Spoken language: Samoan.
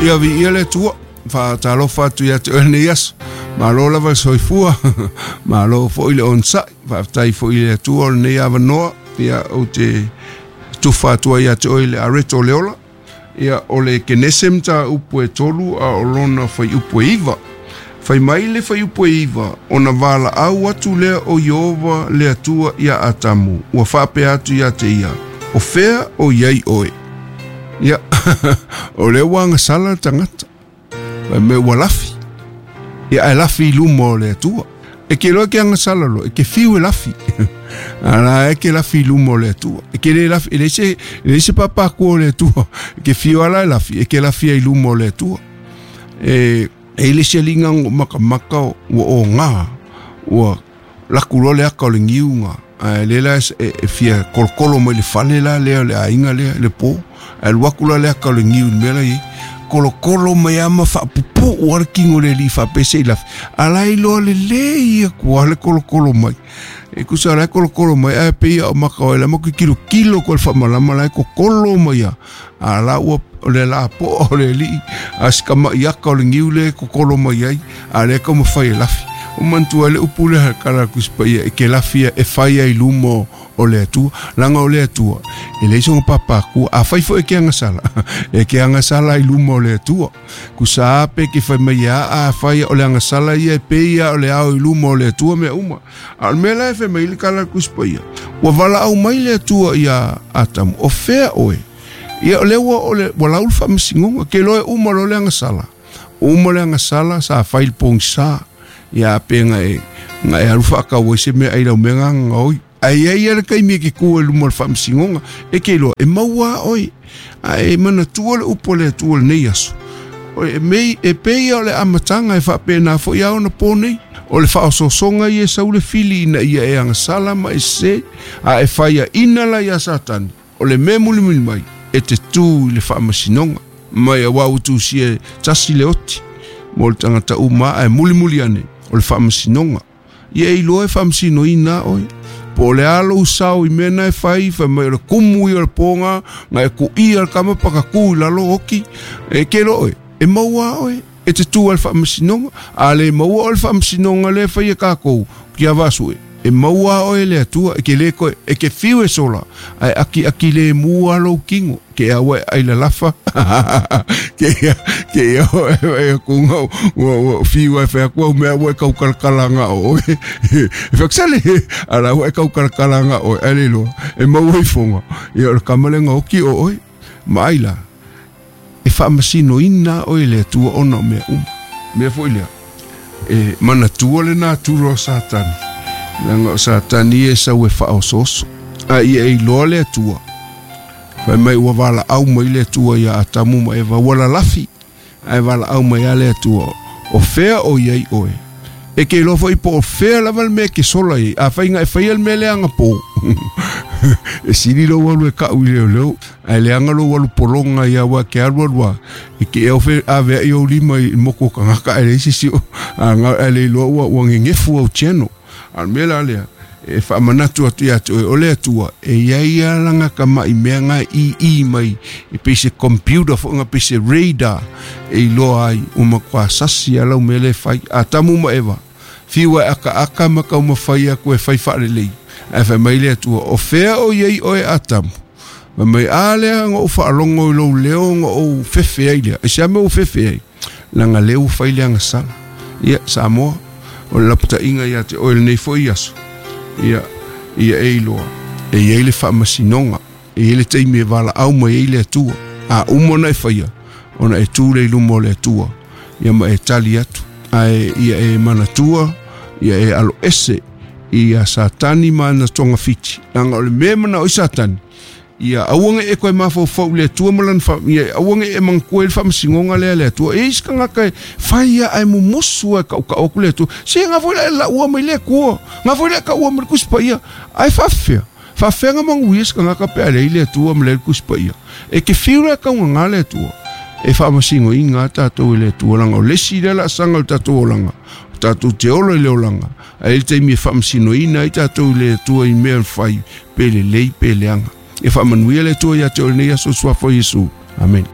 Ia viia le Atua, faatalofa atu ia te oe lenei aso. Malo lava le soifua, malo foi le onosai, faafetai foi i le Atua o lenei avanoa. Ia ou te tufa atu ai ia te oe le areto o le ola. Ia o le Kenese mataupu e 3 a o lona fuaiupu e 9. Fai mai le fuaiupu e 9, ona valaau atu lea o Ieova le Atua ia Atamu, ua faapea atu ia te ia, o fea o iai oe? Ia, o lea ua agasala le tagata, fai mai ua lafi. Ia ae lafi i luma o le Atua. E ke loa ke agasala loa, e ke fiu e lafi. Ala e ke lafi i luma o le Atua. E ke le lafi, e leai se papakua o le Atua. E ke fiu ala e lafi, e ke lafi ai i luma o le Atua. E e le se linga makamaka ua o ngā, ua laku loa le aka o le ngiu ngā. Ae le la e fia kolokolo mai le fale la lea o le aiga lea le pō. Ae alu atu la le aka o le ngiu i le mea la i ai. Kolokolo mai ama faapupuu a le kingo le alii faapea se i lafi. A la iloa lelei aku a le kolokolo mai. E kusa la e kolokolo mai ae pei ia o maka o e la ma kilokilo ko le faamalama la e kokolo mai a. A la ua o le la po o le alii a si kama'i aka o le ngiu le kokolo mai ai a lea taumafai e lafi. O manatua ai le upu lea kala le Tusi Paia e ke lafi e fai ai i luma o le Atua. Leaga o le Atua e leai sona papakua. Afai foi e ke agasala, e ke agasala i luma o le Atua. Kusa pe ke fai mai a a fai o le agasala ia e pei ia o le ao i luma o le Atua mea uma. A o le mea la e fai mai le kala le Tusi Paia, ua valaau mai le Atua ia Atamu, o fea oe? Ia o lea ua o le ua lau le faamasinoga, ke loa e uma loa le agasala. Uma le agasala sa fai le pogisa. Ia pe nga e nga e alu faatau ai se mea ai lau mea gagaoi. Ae i ai ia le taimi e ke ku ai luma o le faamasinoga, e ke iloa e maua a oe. Ae manatua le upu a le Atua i lenei aso. E mei e pei ia o le amataga e faapena foi a ona po nei. O le faaosoosoga ia e sau le fili ina ia e agasala ma e sese, a e faiaina la ia Satani. O le mea mulimuli mai, e te tū i le faamasinoga mai aua ua tusia e tasi le oti mo le tagata uma ae mulimuli ane o le faamasinoga. Ia e iloa e faamasinoina oe. Po o le a lou sao i mea na e fai, fai mai o le kumu ia o le pōga, na e kuia le kama pakakū i lalo oki, e ke loa oe, e maua oe, e te tū ai le faamasinoga. A le maua oe le faamasinoga lea e fai e kākou, ki a Vasue, e maua oe e le Atua, e ke le koe, e ke fiu e sola, ae akiaki lemu a lou kino, ke aua e ai lalafa, ke ia, ke ia e aku nga, ua, ua fiu ai fai aku au mea ua e kaukalakala nga o oe. E whakasale, ala ua e kaukalakala nga oe, ai le loa, e maua i fonga, ia o le kamalenga oki o oe, ma ai la, e faamasinoina oe e le Atua ona o mea uma. Mea foi lea, e manatua le natura o Satani, leaga o Satani e sau e faaosooso, a ia e iloa le Atua. Fai mai ua valaau mai le Atua ia Atamu ma Eva, ua lalafi, ae valaau mai a le Atua, o fea o iai oe? E ke iloa foi po o fea lava le mea e ke sola i ai. Afai nga e faia le mea lea agapō, e sili lou alu e ka'u i leoleo, ae leaga lou alu pologa ia aua e ke alu alu a, e ke ea ofe avea'i ou lima i moku o kagaka ae leai se isi o aga ae le iloa ua ua gegefu au channel. A o le mea la lea, e faamanatu atu ia te oe, o le Atua, e iai a lana kama'i mea nga e ii mai, e pei se computer foi nga pei se radar, e iloa ai, ua matua sasi a lau mea lea e fai. Atamu ma Eva, fiu e akaaka ma taumafai atu e fai faalelei, ae fai mai le Atua, o fea o iai oe Atamu? Fai mai, a lea na ou faalogo i lou leo na ou fefe ai lea. Aisea mea ua fefe ai? Leaga lea ua fai le agasala. Ia, Samoa, o le lapataiga ia te oe lenei foi aso, ia, ia e iloa, e i ai le faamasinoga, e i ai le taimi e valaau mai ai le Atua. A uma ona e faia, ona e tū lea i luma o le Atua, ia ma e tali atu. Ae ia e manatua, ia e aloese ia Satani ma ana togafiti. Leaga o le mea e manao ai Satani, ia aua ne i e toe mafaufau i le Atua ma lana fa, ia aua ne i e manatua ai le faamasinoga lea a le Atua. E i ai se tagata e fai ia ae mumusu lava e tautau atu le Atua. Se na foi la e laua mai le Atua, na foi la e taua mai le Tusi Paia. Ae faafefea? Faafefea na manuia se tagata pe a leai le Atua ma leai le Tusi Paia? E te fiu la e taugagā le Atua. E faamasinoina lava tatou e le Atua, leaga o le isi lea laasaga o le tatou olaga, o tatou te ola i le olaga, ae i ai le taimi e faamasinoina ai tatou i le Atua i mea e fai, pe lelei pe leaga. Ia faamanuia le Atua ia te oe i lenei aso i le Suafa o Iesu. Amene.